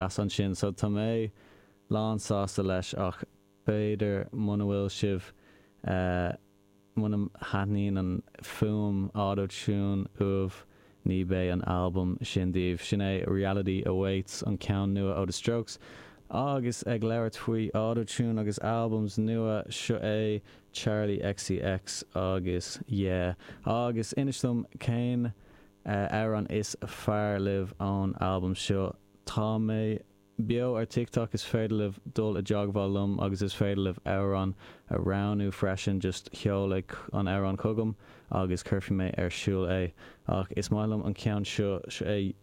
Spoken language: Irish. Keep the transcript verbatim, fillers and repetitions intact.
Ansin so tá mé lán sásta leis ach b'fhéidir muna bhfuil sibh uh, muna thaitníonn an fuaim autotune uaibh ní bheidh an album sin daoibh sin é Reality Awaits an ceann nua ó The Strokes agus ag labhairt faoi autotune agus albums nua seo é Charli XCX agus yeah agus inis dom cén uh, amhrán is fearr libh ón album seo tá mé beo ar TikTok is féidir libh dul i dteagmháil liom agus is féidir libh amhrán a roghnú freisin just seolaigí an amhrán chugam agus cuirfidh mé ar siúl é ach is maith liom an ceann seo é